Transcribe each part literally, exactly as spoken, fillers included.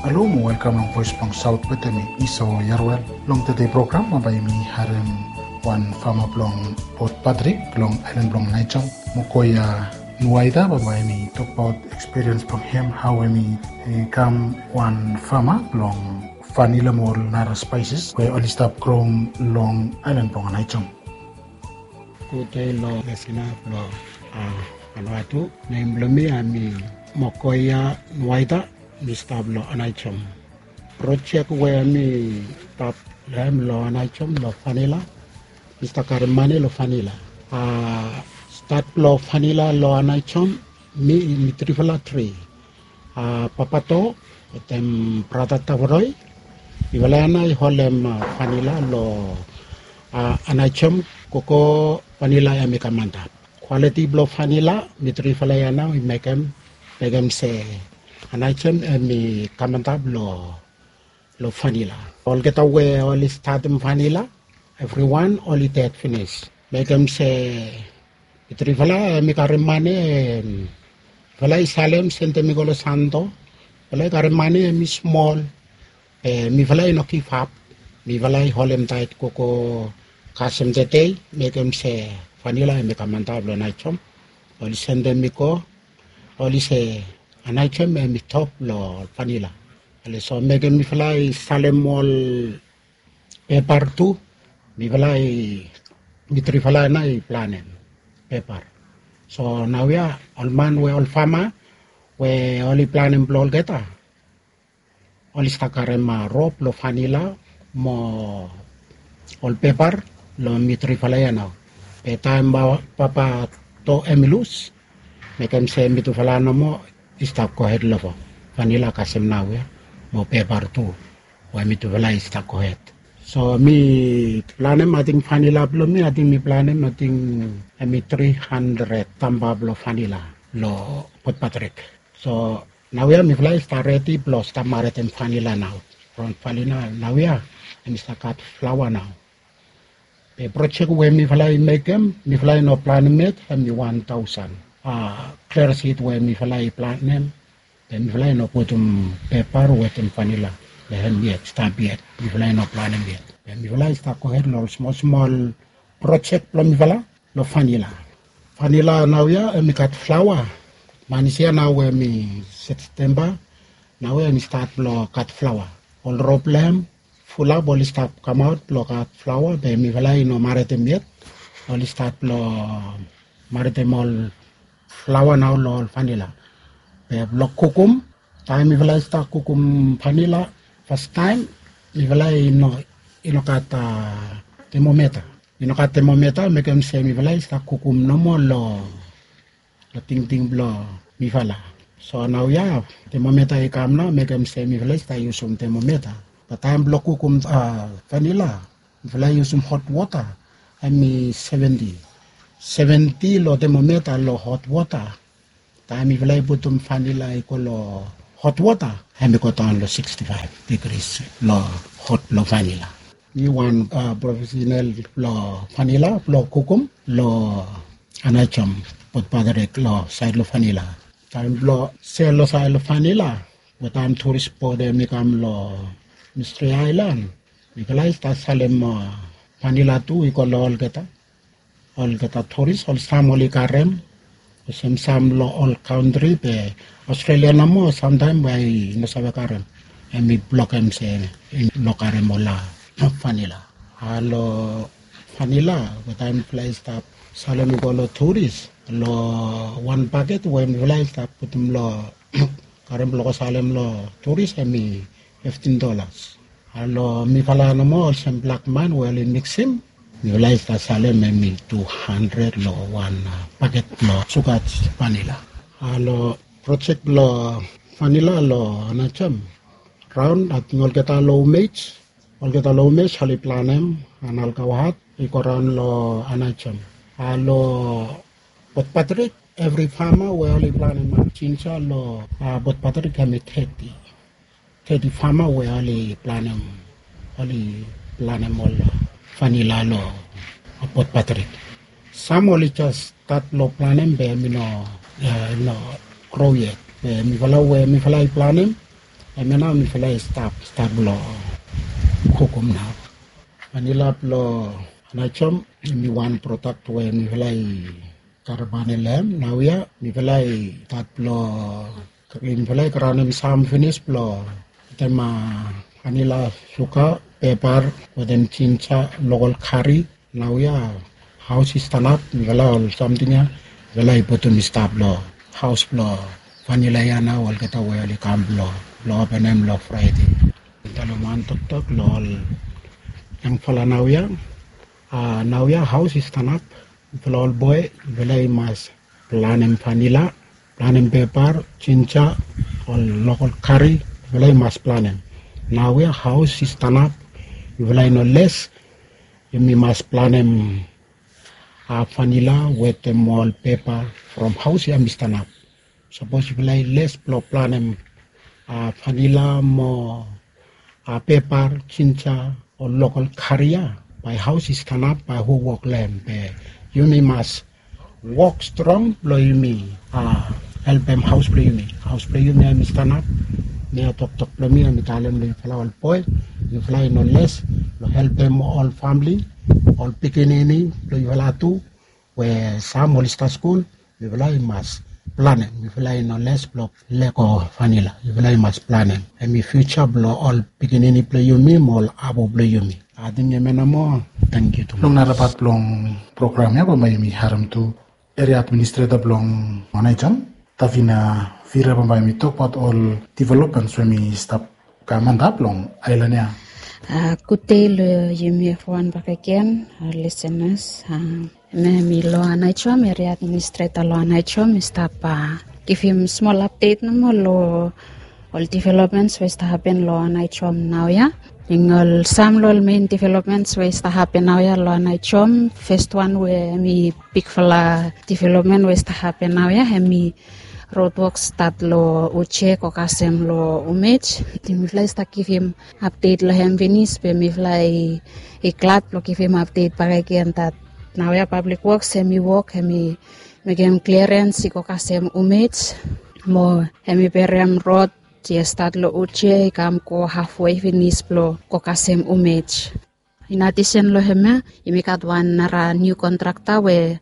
Halo mo welkam long Voes blong Saot wetem mi, Iso Yarwel. Long tede program bae yumi harem wan fama blong Port Patrick long aelan blong Aneityum, Mokoia Nuaida, bae yumi tokbaot ekspiriens blong hem, hao hemi kam wan fama blong vanila mo ol nara spaeses we oli stap groem long aelan blong Aneityum. Gudei long lesina blong Vanuatu. Nem blong mi hemi Mokoia Nuaida, mi stap long Aneityum. Projek we mi stap long hem long Aneityum long vanila, mi stap karem mane long vanila. Stat blong vanila long Aneityum, mi, mi trifala tri. Papato wetem brata Tavaroi, mifala ya nao i holem vanila long Aneityum, gogo vanila hemi kam antap. Kwaliti blong vanila, mi trifala ya nao i mekem, mekem se Aneityum hemi kam antap long, long vanila. Olgeta we oli statem vanila, evriwan oli ded finis. Mekem se mi trifala hemi karem mane, mifala i salem, sendem i go long Santo. Mifala i karem mane hemi smol, be mifala i no givap. Mifala i holem taet gogo kasem tede, mekem se vanila hemi kam antap long Aneityum. Oli sendem i go, oli se Aneityum hemi top long vanila. Oli so mekem mifala i salem ol pepar tu, mifala i, mi trifala nao i planem pepar. So naoia ol man we ol fama we oli planem blong olgeta, oli stap karem rop blong vanila mo ol pepar long mi trifala ya nao. Be taem Papato hemi lus, mekem se mitufala nomo i stap gohed long vanila kasem naoia mo pepar tu we mitufala i stap gohed. So mi planem, ating vanila blong mi, ating mi planem, ating hemi tri handred tamba blong vanila long Port Patrick. So naoia mifala i stap redi blong stap maretem vanila nao. From vanila naoia hemi stap gat flaoa nao. Be projek we mifala i mekem, mifala i no planem yet, hemi wan taosen klere sid we mifala i planem. Be mifala i no putum pepar wetem vanila long hem yet, stap yet. Mifala i no planem yet. Be mifala i stap gohed long ol smol smol projek blong mifala long vanila. Vanila naoia hemi gat flaoa. Manis ya nao we hemi Septemba, naoia hemi stat blong gat flaoa. Ol rop blong hem fulap oli stap kamaot blong gat flaoa, be mifala i no maretem yet. Oli stat blong maretem ol flaoa nao long ol vanila. Be blong kukum, taem mifala i stap kukum vanila fastaem, mifala i no, i no gat temometa. I no gat temometa, mekem se mifala i stap kukum nomo long, long tingting blong mifala. So naoia temometa i kam nao, mekem se mifala i stap yusum temometa. Be taem blong kukum vanila, mifala i yusum hot wota, hemi seventi. Seventi long temometa long hot wota. Taem mifala i putum vanila i go long hot wota, hemi godaon long siksti faef digris long hot blong vanila. Mi wan profesenal blong vanila blong kukum long Aneityum, Port Patrick, long saed long vanila. Taem blong sel long saed long vanila, we taem turis bod hemi kam long Mistri Aelan, mifala i stap salem vanila tu i go long olgeta. Olgeta turis, ol sam oli karem, olsem sam long ol kantri, be Australia nomo samtaem we i no save karem. Hemi blokem se i no karem ol vanila. A long vanila we taem mifala i stap salem i go long turis, long wan baket we mifala i stap putum long, karem blong go salem long turis, hemi fiftin dolas. A long mifala nomo olsem blak man we oli miksim, mifala i stap salem hemi tu handred long wan baket blong suga vanila. A long projek blong vanila long Aneityum, raon ating olgeta long Umej, olgeta long Umej oli planem, Analgau Hat i go raon long Aneityum. A long Port Patrick, evri fama we oli planem jinja long Port Patrick hemi teti. Teti fama we oli planem, oli planem ol vanila long Port Patrick. Sam oli jes stat long planem be hemi no, i no gro yet. Be mifala we mifala i planem, Hemia nao mifala i stap stat blong kukum nao. Vanila blong Anaichom, hemi wan prodak we mifala i karabane long hem. Naoia mifala i stat blong mifala i graonem sam finis blong putum vanila, suga, pepar, wetem jinja, lokol kari. Naoia haos i stanap, mifala ol samting ya mifala i putum i stap long haos blong vanila ya nao. Olgeta we oli kam blong blong openem long Fraide. Talem wan toktok long ol yangfala naoia. Naoia haos i stanap. Mifala ol boe mifala i mas planem vanila, planem pepar, jinja, ol lokol kari. Mifala i mas planem. Naoia haos i stanap. Mifala i no les. Yumi mas planem vanila wetem ol pepar from haos ya mi stanap. Sapos yufala i les blong planem vanila mo pepar, jinja, o lokol kari ya, bae haos i stanap, bae hu wok long hem? Be yumi mas wok strong blong yumi helpem haos blong yumi. Haos blong yumi ya mi stanap. Mi ya toktok blong mi ya mi talem long yufala ol boe, yufala i no les long helpem ol famili, ol pikinini blong yufala tu, we sam oli stap skul. Yufala i mas planem. Yufala i no les blong lego vanila. Yufala i mas planem. Hemi fiuja blong ol pikinini blong yumi mo ol abu blong yumi. Ating hemia nomo. Tangkiu tu. Long narapat blong program ya bambae yumi harem tu eria administreta blong Anaichom, Davina Vira, bambae yumi tokbaot ol developments we mi stap kam antap long aelan ya. Gudei long yumi evriwan bakegen, lisenas. Hemia mi long Anaichom, eria administreta long Anaichom, mi stap givim smol apdet nomo long ol developments we i stap hapen long Anaichom naoia. Ol sam long ol mein developments we i stap hapen naoia long Anaichom, fes wan we hemi bigfala development we i stap hapen naoia, hemi rod wok stat long Uje go kasem long Umej. Mifala i stap givim apdet long hem finis, be mifala i glad blong givim apdet bakegen dat naoia Pablik Woks hemi wok, hemi mekem kliarens i go kasem Umej, mo hemi berem rod ya stat long Uje i kam go hafwe finis blong go kasem Umej. In adisen long hemia, yumi gat wan nara niu kontrakta we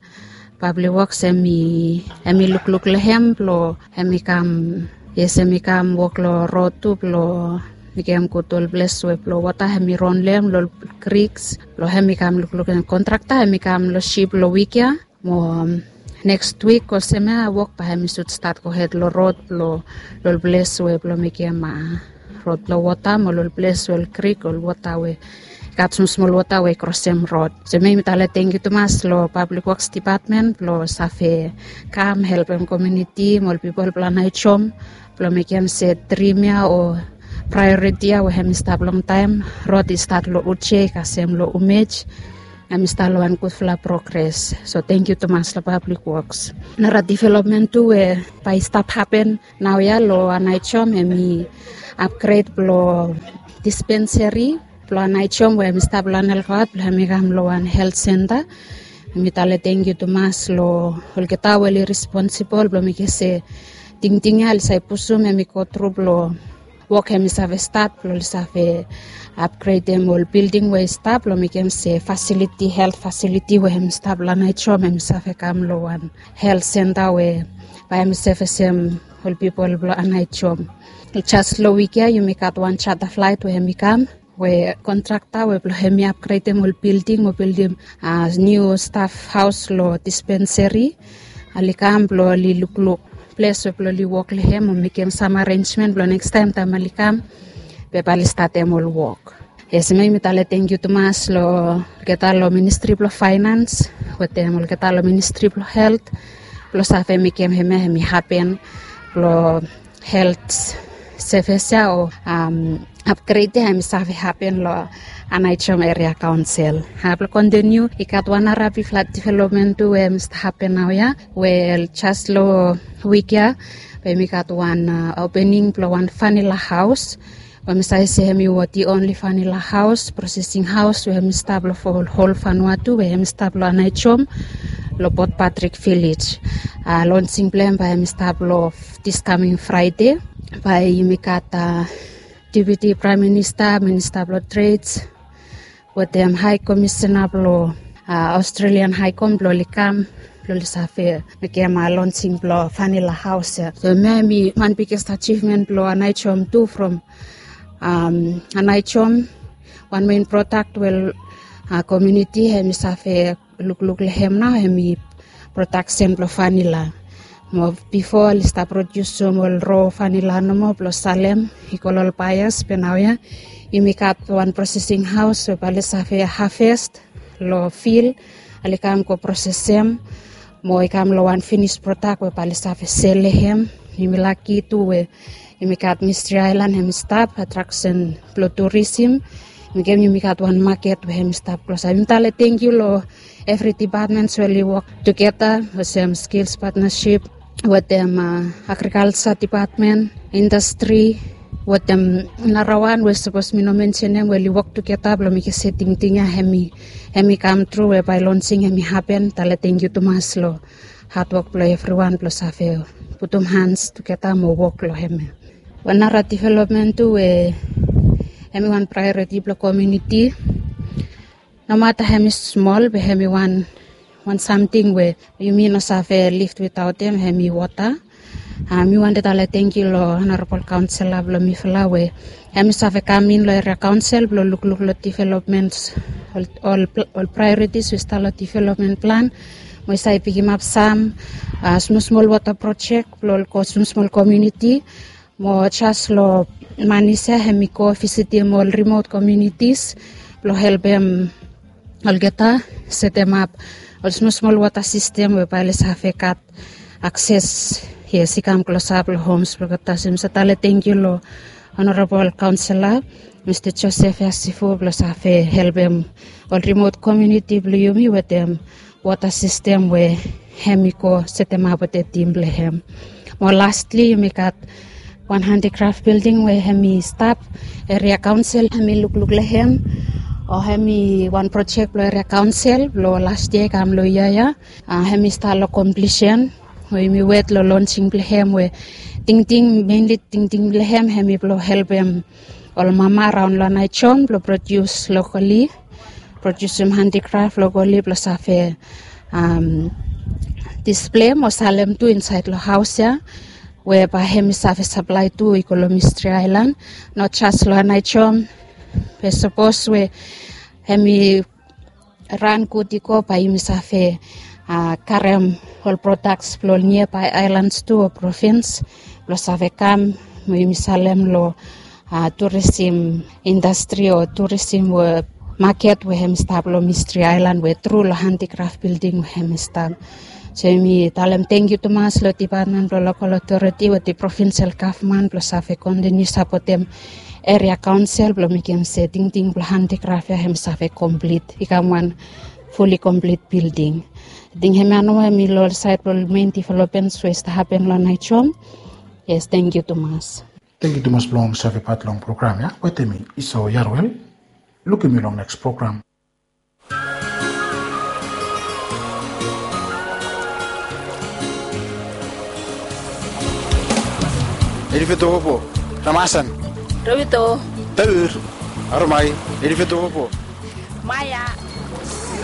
Pablik Woks hemi lukluk long hem blong hemi kam, yes, hemi kam wok long rod tu blong mekem gud ol ples we blong wota hemi ron long hem, long ol kriks, blong hemi kam lukluk. Kontrakta hemi kam long sip long wik ya. Mo neks wik olsem ya wok bae hemi sud stat gohed long rod blong, long ol ples we blong mekem rod blong wota mo long ol ples we ol krik, ol wota we i gat smosmol wota we i krosem rod. So mi, mi talem tangkiu tumas long Pablik Woks Dipatmen blong save kam helpem komuniti mo ol pipol blong Anaichom blong mekem se drim ya o praeoriti ya we hemi stap longtaem, rod i stat long Uje i kasem long Umej, hemi stap long wan gudfala progres. So tangkiu tumas long Pablik Woks. Nara developmen tu we bae i stap hapen naoia long Anaichom, hemi apgred blong dispenseri blong Anaichom we hemi stap long Anelkaot blong hemi kam long wan helt senta. Mi talem tangkiu tumas long olgeta we oli responsibol blong mekem se tingting ya oli save pusum hemi gotru blong wok hemi save stat blong oli save apgredem ol bilding we i stap blong mekem se fasiliti, helt fasiliti we hemi stap long Anaichom hemi save kam long wan helt senta we bae hemi sevesem ol pipol blong Anaichom. Jas long wik ya yumi gat wan jata flaet we hemi kam, we kontrakta we blong hemi apgredem ol bilding o bildim niu staf haos long dispenseri, oli kam blong oli lukluk ples we blong oli wok long hem o mekem sam arenjmen blong nekstaem taem oli kam, be bae oli statem ol wok. Yes, mi, mi talem tangkiu tumas long olgeta long Ministri blong Faenans wetem olgeta long Ministri blong Helt blong save mekem hemia hemi hapen, blong helt sevis ya o apgred ya hemi save hapen long Anaichom Eria Kaonsel. Blong kontiniu, i gat wan nara bigfala developmen tu we hemi stap hapen naoia, we jas long wik ya we hemi gat wan opening blong wan vanila haos, we mi save se hemi wodi onli vanila haos, prosesing haos we hemi stap long hol Vanuatu, we hemi stap long Anaichom, long Port Patrick Village. Lonsing blong hem bae hemi stap long dis kaming Fraede. bae yumi gat Deputi Praem Minista, Minista blong Trade wetem Hae Komisena blong Australian Hae Kom blong oli kam blong oli save mekem lonsing blong vanila haos ya. So hemia hemi wan biggest achievement blong Aneityum tu from Aneityum. Wan main prodak we komuniti hemi save lukluk long hem nao hemi prodaksen blong vanila. Mo bifo oli stap prodiusim ol ro vanila nomo blong salem i go long ol baeas. Be naoia yumi gat wan prosesing haos we bae oli save haves long fil, oli kam go prosesem mo i kam long wan finis prodak we bae oli save sel long hem. Yumi laki tu we yumi gat Mistri Aelan hemi stap atraksen blong turisim. Mekem yumi gat wan maket we hemi stap klosap. Yumi talem tangkiu long evri dipatmen we oli wok tugeta olsem Skills Partnership wetem Agrikalja Dipatmen, Indastri wetem narawan we sapos mi no mensenem we oli wok tugeta blong mekem se tingting ya hemi kam tru we bae lonsing hemi hapen. Talem tangkiu tumas long hadwok blong evriwan blong save putum hans tugeta mo wok long hemia. Wan nara developmen tu we hemi wan praeoriti blong komuniti, nomata hemi smol be hemi wan samting we yumi no save liv witaotem, hemi wota. Mi wantem talem tangkiu long Honorabol Kaonsela blong mifala we hemi save kam in long eria kaonsel blong lukluk long developmen, ol praeoritis we i stap long developmen plan mo i save pikimap sam smosmol wota projek blong ol smosmol komuniti. Mo jas long manis ya hemi go visitim ol rimot komunitis blong helpem olgeta setemap ol smosmol wota sistem we bae oli save gat akses, yes, i kam klosap long homs blong olgeta. So mi save talem tangkiu long Honorabol Kaonsela Mista Joseph Yasifu blong save helpem ol rimot komuniti blong yumi wetem wota sistem we hemi go setemap wetem tim blong hem. Mo lastli yumi gat wan handikraf bilding we hemi stap, eria kaonsel hemi lukluk long hem, o hemi wan projek blong eria kaonsel blong las yia i kam long yia ya. Hemi stap long komplisen we yumi wet long lonsing blong hem we tingting, menli tingting blong hem hemi blong helpem ol mama raon long Aneityum blong prodius lokali, prodiusim handikraf lokali blong save displem o salem tu insaed long haos ya, we bae hemi save saplae tu i go long Mistri Aelan, no jas long Aneityum. Be sapos we hemi ran gud i go bae yumi save karem ol prodaks blong ol niabae aelans tu o provins blong save kam mo yumi salem long turisim indastri o turisim maket we hemi stap long Mistri Aelan we tru long handikraf bilding we hemi stap. So yumi talem tangkiu tumas long dipatmen blong lokal otoriti wetem provinsel gavman blong save kontiniu sapotem eria kaonsel blong mekem se tingting blong handikraf ya hemi save komplit, i kam wan fuli komplit bilding. Ating hemia nomo hemi long ol saed blong ol mein developments we i stap hapen long Aneityum. Yes, tangkiu tumas. Tangkiu tumas blong save pat long program ya wetem mi, Isao Yarwel. Lukim yu long neks program. Edifeto Popo, Ramasan, Rovito, Taur, Aromai, Edifeto Popo, Maya.